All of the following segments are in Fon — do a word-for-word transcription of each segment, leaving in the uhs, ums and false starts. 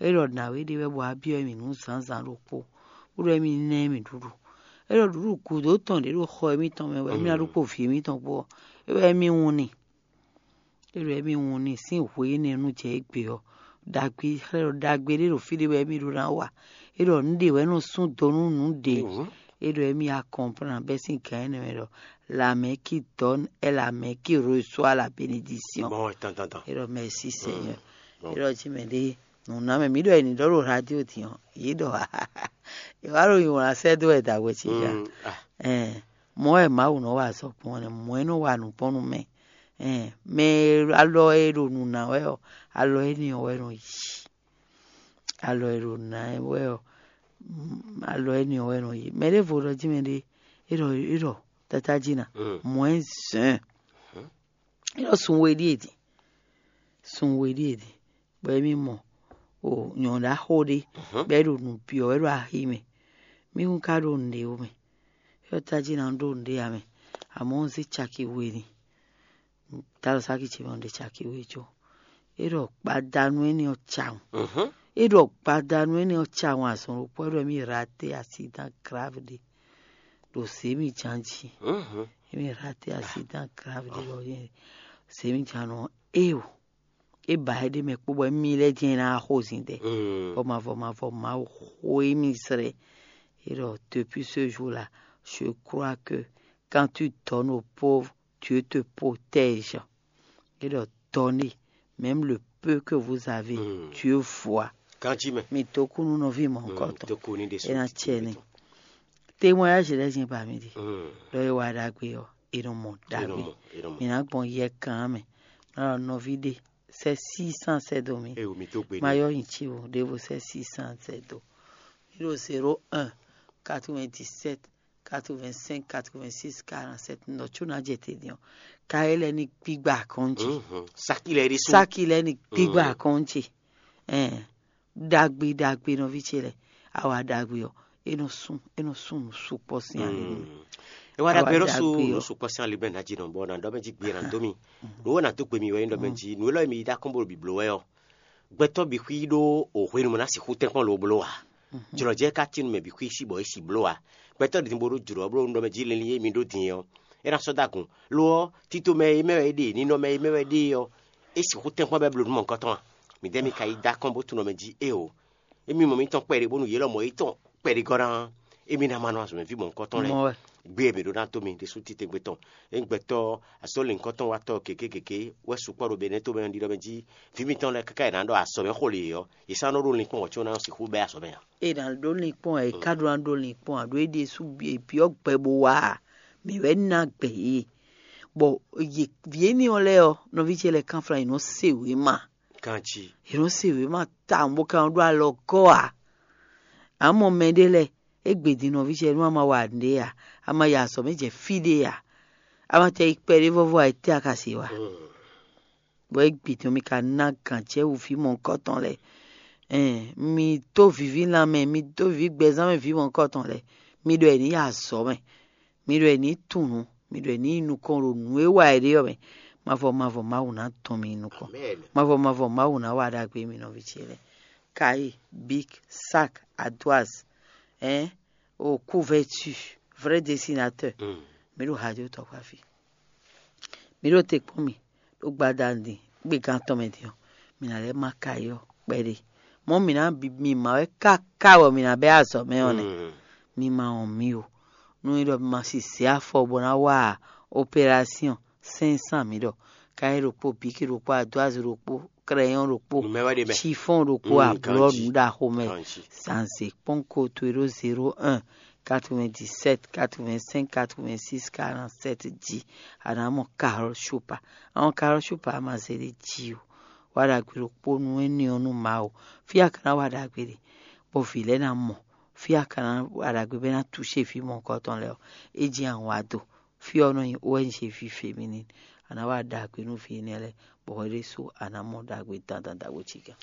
É ɖɔ nǎwe ɖé wɛ bɔ a byɔ́ mì nǔ zǎnzǎn ɖokpó, bó ɖɔ émí ná émí ɖuɖu. É ɖɔ ɖuɖu gǔdo tɔn ɖě ɖo xɔ émítɔn mɛ wɛ émí ná ɖu kpó vǐ émítɔn kpó ɔ́, é wɛ émí wun n'i. É ɖɔ émí wun n'i sín hwe énɛ́ nú jɛ égbé ɔ́, ɖagbe xlɛ́ ɖɔ ɖagbe ɖé ɖo fí ɖé wɛ émí ɖó ná wa. É ɖɔ nǔɖé wɛ nɔ sú do nú nǔɖé. É ɖɔ émí a kɔnplán bɛ́ sín gǎn énɛ́ mɛ ɖɔ la main qui donne est la main qui reçoit la bénédiction. Bon, attends, attends, attends. É ɖɔ merci Seigneur. Bon. É ɖɔ jí mɛ ɖé nǔnámɛ mǐ ɖɔ è nǐ ɖɔ ɖo radio din ɔ́, yě ɖɔ è wá ɖo nyi wlán sɛ́ dó wɛ dǎwe cí gǎ. Ɛn, mɔ̌ wɛ Mawu nɔ wa azɔ̌ gbɔn ɔ́ nɛ́, mɔ̌ é nɔ wa nǔ gbɔn nú mɛ. Ɛn, mɛ e alɔ e ɖo nǔ ná wɛ ɔ́, alɔ énɛ́ ɔ́ wɛ nɔ yi. Alɔ e ɖo nǔ ná wɛ ɔ́, alɔ énɛ́ ɔ́ wɛ nɔ yi. Mɛ ɖěvo ɖɔ jí mɛ ɖé, é ɖɔ é ɖɔ tata jí ná, mɔ̌ é zɛ̌n. É ɖɔ sun we ɖíe din. Sun we ɖíe din. Bɔ émí mɔ o nyɔ̌ɖaxó ɖé bɔ é ɖo nǔ byɔ́ wɛ ɖo axi mɛ. Mí kún ka ɖo nǔɖé ó mɛ. É ɖɔ tají ná ɖó nǔɖé ǎ mɛ, amɔ̌ un zé caki we n'i. Dalo sáki ce mɛ un ɖe caki we có. É ɖɔ gbadanu énɛ́ ɔ́ cawun. É ɖɔ gbadanu énɛ́ ɔ́ cawun azɔn ɖokpó é ɖɔ émí raté accident grave ɖé ɖo zěmijǎn jí. Émí raté accident grave ɖé ɖɔ zěmijǎn ɔ́ éo. É ba é ɖ'é mɛ kpó bɔ émí lɛ́ɛ jɛ́n ná xozin ɖɛ. Bɔ mavɔ mavɔ Mawu xo émí zlɛ́. É ɖɔ depuis ce jour là, je crois que quand tu donnes aux pauvres, Dieu te protège. É ɖɔ donner même le peu que vous avez, Dieu voit. Kanjí mɛ. Mi dó kú nú nɔví mɔ̌hunkɔtɔn. É ná cɛ ní. Témoignage lɛ́ɛ jɛ́n ba mi ɖi. Ɖɔ é wa ɖagbe ɔ́, è nɔ mɔ ɖagbe. Mǐ ná gbɔn yɛ kan mɛ. Nɔ nɔví ɖé sɛ six cent sɛ dó mi. Eyo mi tó gbe. Ma yɔ yin ci o, ɖěvo sɛ six cent sɛ dó. Mi ɖo zéro un, quatre-vingt-dix-sept, quatre-vingt-cinq, quatre-vingt-six, quarante-sept nɔ có ná jɛ te din ɔ́. Ka é lɛ́ ní gbígbá akɔ́njí. Sáki lɛ́ɛ ɖésú. Sáki lɛ́ɛ ní gbígbá akɔ́njí. Ɛn, ɖagbe ɖagbe nɔví ce lɛ́ɛ, awa ɖagbe ɔ́, é nɔ sún é nɔ sún nǔ sukpɔ́ sín ali nú mì. É wá ɖagbe ɖó sú nǔ sukpɔ́ sín ali bɔ é ná jí nɔ bɔ ná ɖɔ mɛ jí gbe ná dó mi. Nǔ wó ná dó gbe mi wɛ nyí ɖɔ mɛ jí nǔ élɔ́ e mi yí dó akɔ́n bó ɖo bǐbló wɛ ɔ́, gbɛtɔ́ bǐ xwí ɖó o hwenu mɔ ná sixú tɛ́nkpɔ́n lo bló ǎ. Jlɔ̌jɛ ka tín nú mɛ bǐ xwí sí bɔ é si bló ǎ. Gbɛtɔ́ ɖě din bó ɖó jlǒ ɔ́ bló nú ɖɔ mɛ jí linlin e mi ɖó din ɔ́, é ná sɔ́ dó agun. Lo ɔ́, tito mɛ e mɛ wɛ é ɖe, ninɔmɛ e mɛ wɛ é ɖe ɔ́, é sixú tɛ́nkpɔ́n bɛ́ bló nú mɔ̌hunkɔtɔn a? Midɛɛ mi ka yi dó akɔ́n bó tunwun mɛ jí éeǒ. Émí mɔ mítɔn kpɛɖé bónú yě lɔmɔ̌ yětɔn kpɛɖé gɔ́ ná émí ná ma nɔ azɔ̌ mɛ ví mɔ̌hunkɔtɔn lɛ́ɛ. Gbé e mǐ ɖó ná dó mi ɖésú titewungbe tɔn. Ényí gbɛtɔ́ azɔ̌ lěhunkɔtɔn watɔ́ gěgé gěgé wɛ sukpɔ́ ɖo Benɛ́to mɛ ɔ́, ɖiɖɔ mɛ jí vǐ mitɔn lɛ́ɛ káká è nǎ ɖɔ azɔ̌ mɛ xó lě ɔ́, yě sɔ́ nɔ ɖó linkpɔ́n wɔ̌ có ná nɔ sixú bɛ́ azɔ̌ mɛ ǎ. È nǎ ɖó linkpɔ́n ǎ, è ká ɖó ná ɖó linkpɔ́n ǎ, ɖó é ɖésú byɔ́ gbɛ bó wá ǎ. Mǐ wɛ ná gbɛ yě. Bɔ yě vǐ énɛ́ ɔ́ lɛ́ɛ ɔ́, nɔví ce lɛ́ɛ kánflán yě nɔ se wěma. Kanjí. Yě nɔ se wěma tawun bó ka nɔ ɖó alɔ gɔ́ ǎ. Amɔ mɛ ɖé lɛ́ɛ, é gbe din nɔví ce nú a ma wa nǔɖé ǎ, a ma yi azɔ̌ mɛ jɛ fí ɖé ǎ, a ma tɛ yi kpɛɖé vɔ́vɔ́ ǎ, étɛ́ a ka se wa? Bɔ é gbe din ɔ́, mi ka ná gǎn cɛ wú vǐ mɔ̌hunkɔtɔn lɛ́ɛ. Ɛn, mi dó viví lanmɛ, mi dó viví gbɛzán mɛ vǐ mɔ̌hunkɔtɔn lɛ́ɛ, mi ɖɔ è nǐ yi azɔ̌ mɛ. Mi ɖɔ è nǐ tunwun nǔ, mi ɖɔ è nǐ yi nukɔn ɖo nǔ e wa è ɖe ɔ́ mɛ. Mavɔ mavɔ Mawu ná dɔn mi yi nukɔn. Mavɔ mavɔ Mawu ná wa ɖagbe mi nɔví ce lɛ́ɛ. Kayi, bik, sak, adwaz, ɛn, o kuvɛtu, vrɛ desinatɛ́. Mi ɖo hajotɔ́ kpá fí. Mi ɖo te kpɔ́n mì ɖo gbadanu din, gbegán tɔn mɛ din ɔ́, mǐ ná lɛ́ má kayi ɔ́ kpɛɖé. Mɔ̌ mǐ ná bi mi ma wɛ káká bɔ mǐ ná bɛ́ azɔ̌ mɛ ɔ́ nɛ́. Mi ma wɔn mì o. Nú é ɖɔ mi ma si zě afɔ bó ná wa operásyɔn sɛ́nsán mǐ ɖɔ káyí ɖokpó, bíki ɖokpó, adwázi ɖokpó, krɛyɔn ɖokpó, sifɔn ɖokpó, ablɔ́ nǔ ɖaxo mɛ. Zanzě kpɔ́n koto e ɖó zéro un, quatre-vingt-dix-sept, quatre-vingt-cinq, quatre-vingt-six, quarante-sept jí. A nǎ mɔ Carole Chopard. A mɔ Carole Chopard a ma zé ɖé jí o. Wá ɖagbe ɖokpó nú énɛ́ ɔ́ nú Mawu. Fí a ka ná wá ɖagbe ɖe, bɔ vǐ lɛ́ɛ ná mɔ. Fí a ka ná wá ɖagbe bɔ é ná touché vǐ mɔ̌hunkɔtɔn lɛ́ɛ ɔ́, é jɛ́n awǎ do. Fí ɔ́ nɔ nyí O N G ví féminine. A nǎ wá ɖagbe nú vǐ énɛ́ lɛ́ɛ, bɔ hwɛ ɖésú a nǎ mɔ ɖagbe dandan ɖagbe cí gán.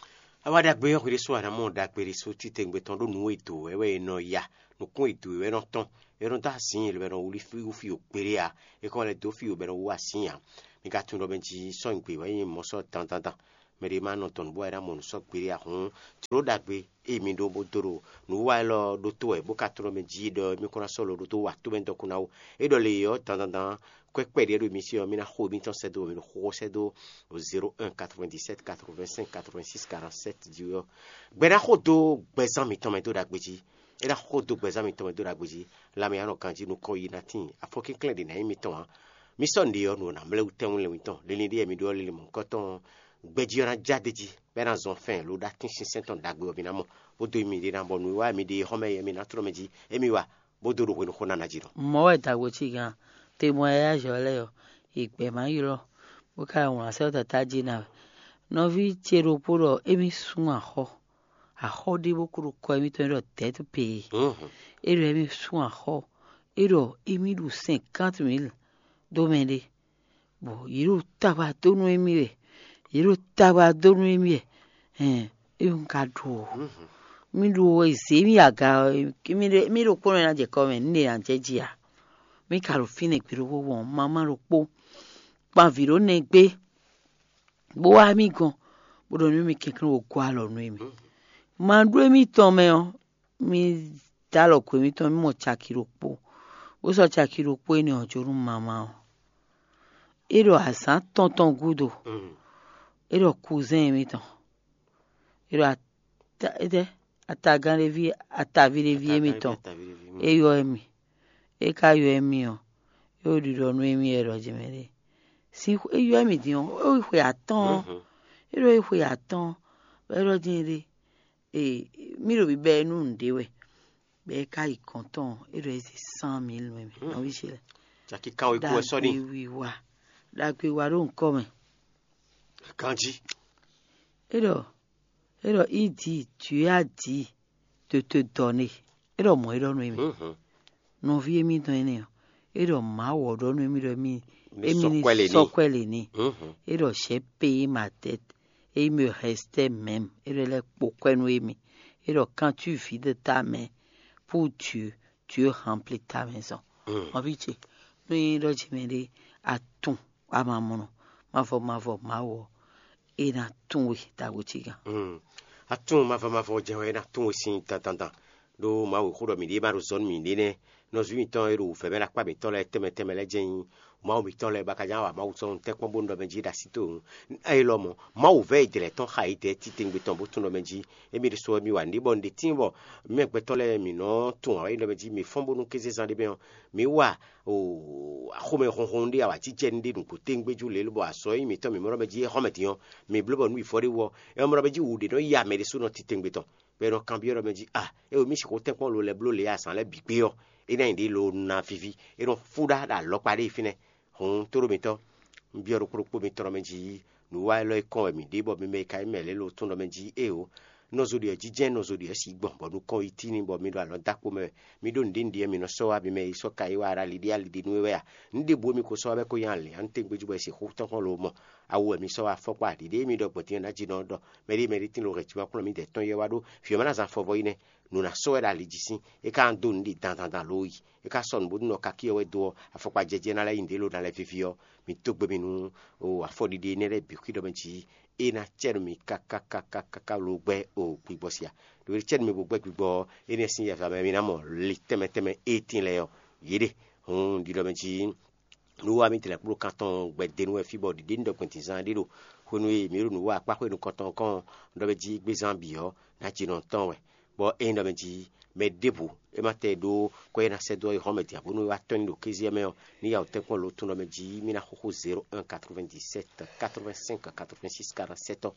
A wá ɖagbe ɔ́, hwɛ ɖésú a nǎ mɔ ɖagbe ɖésú titewungbe tɔn ɖó nǔ e dǒ wɛ wɛ è nɔ ya, nǔkún e dǒ wɛ wɛ nɔ tɔn, è nɔ dó azǐn, è lɔ bɛ nɔ wlí fí wú fí o kpeɖé ǎ, è kɔ lɛ́ dó fí o bɛ nɔ wú azǐn ǎ. Mi ka tunwun ɖɔ mɛ jí sɔ́ nyǐgbe wɛ nyí mɔ̌ sɔ́ dandandan. Mɛ ɖé ma nɔ tɔn nǔ bɔ é ná mɔ nǔ sɔ́ gbeɖé ǎ hǔn, jlǒ ɖagbe e mi ɖó bó dó ɖo nǔwiwa élɔ́ ɖótó wɛ bó ka tlɔ́n mɛ jí ɖɔ émí kún ná sɔ́ lo ɖótó wa tó mɛ dɔkun ná ó. É ɖɔ lě ɔ́, dandandan, kwɛ́ kpɛɖé ɖo mi sí ɔ́, mí ná xo émítɔn sɛ́ dó, mi ɖo xóxó sɛ́ dó zéro un quatre-vingt-dix-sept quatre-vingt-cinq quatre-vingt-six quarante-sept jí ɔ́. Gbɛ ná xo dó gbɛzán mitɔn mɛ dó ɖagbe jí. É ná xo dó gbɛzán mitɔn mɛ dó ɖagbe jí. Lanmɛ anɔ ganjí nukɔn yi ná tíin, afɔkínklɛ́n ɖě ná nyí mitɔn ǎ. Mi sɔ́ nǔɖé ɔ́, nǔ ɔ́ ná mlɛ́ wú tɛ́nwún lɛ́nwú tɔn. Linlin ɖé mi ɖó ɔ́, linlin mɔ̌hunkɔtɔn ɔ́, gbɛjí ɔ́ ná já d'é jí, bɔ é ná zɔn fɛ́n lǒ ɖó atínsínsɛ́n tɔn ɖagbe ɔ́ mi ná mɔ, bó dó mi ɖe ná bɔ nǔwiwa mi ɖe xɔ́mɛ yɛ mi ná tlɔ́n mɛ jí, émí wa, bó dó ɖo hwenu xó ná ná jí nɔ. Mɔ̌ wɛ dǎgbó cí gán, te mɔ yáyá azɔ̌ lɛ́ɛ ɔ́, è gbɛ̌ má ylɔ́, bó ka wlǎn sɛ́ dó tatá jí ná wɛ. Nɔví ce ɖokpó ɖɔ émí sú axɔ́, axɔ́ ɖé bó kú ɖo kɔ émítɔn e ɖɔ dɛ̌t pee. É ɖɔ émí sú axɔ́, é ɖɔ émí ɖu cinquante mille dó mɛ ɖé, bɔ yě ɖo tagba dó nú émí wɛ, yě ɖo tagba dó nú émí wɛ. Hɛn, é un ka ɖu o. Mí ɖu o, è zě mì aga ɔ́, mí ɖokpónɔ ná jɛ kɔ mɛ, nú è nǎ jɛ jí ǎ. Mí ka ɖo fínɛ́ gbe ɖokpó wɔn, mamá ɖokpó kpan vǐ ɖó nɛgbé, bó wá mì gɔn, bó ɖɔ nú mì kɛnklɛ́n wǒ gɔ́ alɔ nú émí. Ma ɖó émítɔn mɛ ɔ́, mì dó alɔ ko émítɔn, mì mɔ caki ɖokpó, bó sɔ́ caki ɖokpó énɛ́ ɔ́ jó nú mamá ɔ́. É ɖɔ azǎn tɔn tɔn gúdo, é ɖɔ kuzɛ́n émítɔn, é ɖɔ ata- étɛ́, atagán ɖé ví, ataví ɖé ví émítɔn, é ylɔ́ émí. É ka ylɔ́ émí ɔ́, é ɖo ɖiɖɔ nú émí wɛ ɖɔ jɛ mɛ ɖé. Sin é ylɔ́ émí din ɔ́, é xwe atɔ́ɔ́n. É ɖɔ é xwe atɔ́ɔ́n, bɔ é ɖɔ din ɖé, ee, mí ɖo bibɛ nú nǔɖé wɛ, bɔ é ka yi gɔ̌n tɔn, é ɖɔ é zé cent mille nú émí. Nɔví ce lɛ́ɛ, Caki kan wekú wɛ sɔ́ n'i. Wiwa, ɖagbe wa ɖó ŋkɔ mɛ. Ganjí. É ɖɔ, é ɖɔ, il dit, Dieu a dit de te donner. É ɖɔ mɔ̌ é ɖɔ nú émí. Nɔví émítɔn énɛ́ ɔ́, é ɖɔ Mawu ɔ́ ɖɔ nú émí ɖɔ émí émí ní sɔ́ kwɛ́ lě n'i. É ɖɔ j'ai payé ma dette et il me restait même. É ɖɔ é lɛ́ kpo kwɛ́ nú émí. É ɖɔ quand tu vides ta main pour Dieu, Dieu remplit ta maison. Nɔví ce, nú é ɖɔ jɛ mɛ ɖé, atún amamɔnɔ mavɔ mavɔ Mawu ɔ́, é ná tún we ɖagbe ce gán. Atún mavɔ mavɔ jɛ wɛ é ná tún we sín dandandan. Ɖó Mawu xó ɖɔ mǐɖée ma ɖo zɔ̌ nú mǐɖée nɛ́. Nɔzú mǐtɔn e ɖo wǔvɛ́ mɛ ɖo akpá mǐtɔn lɛ́ɛ tɛnmɛ tɛnmɛ lɛ́ɛ jɛ́n nyí Mawu mǐtɔn lɛ́ɛ, bɔ a ka ján wa Mawu sɔ́ nú tɛ́nkpɔ́n bónú ɖɔ mɛ jí ɖo así towe wú. Élɔ́ mɔ̌, Mawu vɛ́ e jlɛ̌ tɔn xa yi dɛ̌ titewungbe tɔn bó tunwun ɖɔ mɛ jí émí ɖésú wɛ mì wa nǔɖé bɔ un ɖe tíin bɔ mɛ gbɛtɔ́ lɛ́ɛ mǐ nɔ́ tunwun awǎ yi ɖɔ mɛ jí mǐ fɔ́n bónú kézezán ɖé mɛ ɔ́, mǐ wa axomɛ honhon ɖé awǎjijɛ ɖé nǔgbó tɛ́ngbéjú lě lobɔ azɔ̌ e nyí mǐtɔn mǐ mɔ ɖɔ mɛ jí é xɔ mɛ din ɔ́, mǐ bló bɔ nǔ yi vɔ ɖé wú ɔ́, é nɔ mɔ ɖɔ mɛ jí wǔ ɖé nɔ ya mɛ ɖésúnɔ titewungbe tɔn. Bɔ è nɔ kanbyɔ́ ɖɔ mɛ jí a, é o mì sixú tɛ́nkpɔ́n lo lɛ́ bló lě azǎn lɛ́ɛ bǐ gbé ɔ́, é ná nyí ɖě lo ná víví, é nɔ fú ɖá ɖo alɔkpa ɖé yi fínɛ́. Hǔn tóɖó mitɔ́, un byɔ́ ɖokpó ɖokpó mitɔn ɖɔ mɛ jí nǔwiwa élɔ́ e kɔn wɛ mǐ ɖe bɔ mi mɛ e ka nyí mɛ lɛ́ɛ lo tunwun ɖɔ mɛ jí éeǒ. Nɔzo ɖi wɛ jínjɛ́n nɔzo ɖi wɛ sí gbɔn bɔ nukɔn yi tíin bɔ mi ɖo alɔ dó akpo mɛ wɛ. Mi ɖó nǔɖé nǔɖé wɛ mi nɔ sɔ́ wá mi mɛ e sɔ́ ka yi wá ɖo aliɖí aliɖí nú we wɛ a? Nǔ ɖěbǔ e mi ko sɔ́ wá bɔ é ko nyí alǐnnyánú tɛ́ngbéjú bɔ è sixú tɔ́n kpɔ́n lo mɔ. Awu wɛ mi sɔ́ wá fɔ́kpá ɖiɖée mi ɖɔ gbɔn din ɔ́ ná jí nɔ ɖɔ mɛɖé mɛɖé tín lo hɛn jǐ ma kplɔ́n mǐdɛɛ tɔn yi wɛ wá ɖó vǐ ɔ́ ma ná zán fɔvɔ yi nɛ́. Nǔ ná sɔ́ wɛ ɖo ali jí sín, é ka ná dó nǔɖé dandan dan ló yi. É ka sɔ́ nǔ bónú nɔ kakí ɔ́ wɛ dó ɔ́, afɔkpa jɛjɛ ná lɛ́ nyí nǔɖé lo ná lɛ́ víví ɔ́, mi dó gbe mi nú afɔɖiɖi énɛ́ lɛ́ɛ bǐ xwí ɖɔ mɛ jí é ná cɛ nú mi káká káká káká lo gbɛ́ o gbigbɔ sia. Ɖo é cɛ nú mi bó gbɛ́ gbigbɔ ɔ́, énɛ́ sín yɛhwɛ mɛ mi ná mɔ li tɛnmɛ tɛnmɛ e tíin lɛ́ɛ ɔ́, yě ɖe. Hǔn ɖiɖɔ mɛ jí nǔ wa mì tlɛ kpló kan tɔn gbɛdenu wɛ fí bɔ ɖiɖe ní ɖɔ gbɛn dǐnzán ɖé ɖo hwenu e mǐ ɖo nǔ wa akpá xwé nukɔntɔn kɔn ɖɔ mɛ jí gbézán bǐ ɔ́, ná jinɔ tɔn wɛ. Bɔ ényí ɖɔ mɛ jí mɛ ɖěbǔ é ma tɛ ɖó kɔ e ná sɛ́ dó ɔ́ yi xɔ́mɛ din ǎ bónú é wá tɔ́n nyi ɖo kéze ɔ́ mɛ ɔ́, ní ya wǔ tɛ́nkpɔ́n lo tún ɖɔ mɛ jí mì ná xúxú zéro un quatre-vingt-dix-sept quatre-vingt-cinq quatre-vingt-six quarante-sept ɔ́.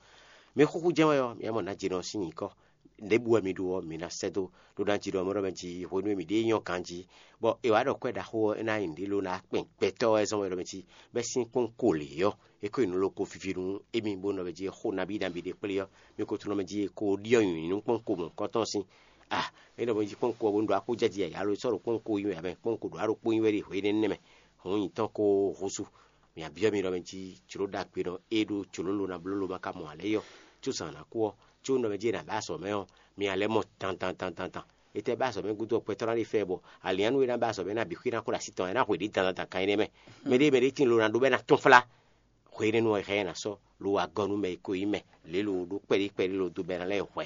Mi xúxú jɛ́n wɛ ɔ́, mi ná mɔ nǎ jinɔ sín nyǐkɔ. Něbú wɛ mi ɖu ɔ́, mi ná sɛ́ dó, ɖó ná jí ɖɔ mɔ̌ ɖɔ mɛ jí hwenu e mǐ ɖée nyɔ́ ganjí, bɔ è wǎ ɖɔ kwɛ́ ɖaxó ɔ́, é ná nyí nǔɖé ló ná kpɛn gbɛtɔ́ wɛ zɔ́n wɛ ɖɔ mɛ jí, bɔ é sín kpɔ́n ko lě ɔ́, é ko nyí nǔ loko vivi nú émí, bó nɔ mɛ jí xó nabí nabí ɖé kplé ɔ́, mi ko tunɔ mɛ jí è ko ɖyɔ́ nyǐnyí nú kpɔ́n ko mɔ̌hunkɔtɔn sín. A, é nɔ mɛ jí kpɔ́n ko ɔ́ bó nú ɖɔ akójɛjí yǎyá ló sɔ́ ɖo kpɔ́n ko nyí wɛ, abɛ kpɔ́n ko ɖo aɖókpó nyí wɛ ɖe hwe énɛ́ nɛ́ mɛ, hɔn nyǐtɔn ko húzú. Mǐ byɔ́ mi ɖɔ mɛ jí jlǒ ɖagbe nɔ é ɖó jlǒ lo ná bló lo ma ka mɔ ǎ lɛ́ɛ yi ɔ́, có zǎn ná kú ɔ́, có nɔ mɛ jí è nǎ bɛ́ azɔ̌ mɛ ɔ́, mi ná lɛ́ mɔ dandan dandan dan. Étɛ́ bɛ́ azɔ̌ mɛ gúdo ɔ́, gbɛtɔ́ ná ɖe fɛ bɔ alǐnnyánú e ná bɛ́ azɔ̌ mɛ ná bǐ xwí ná kó ɖo así tɔn, é ná hwe ɖě dandan dan kan énɛ́ mɛ. Mɛ ɖé mɛ ɖé tíin lo ná ɖó bɔ é ná tɔ́n flá. Akwɛ́ énɛ́ nu ɔ́, è hɛn ɛ ná sɔ́ lo wá gɔ́ nú mɛ e ko nyí mɛ lě lo ɖó kpɛɖí kpɛɖí lo dó bɔ é ná lɛ́ hwɛ.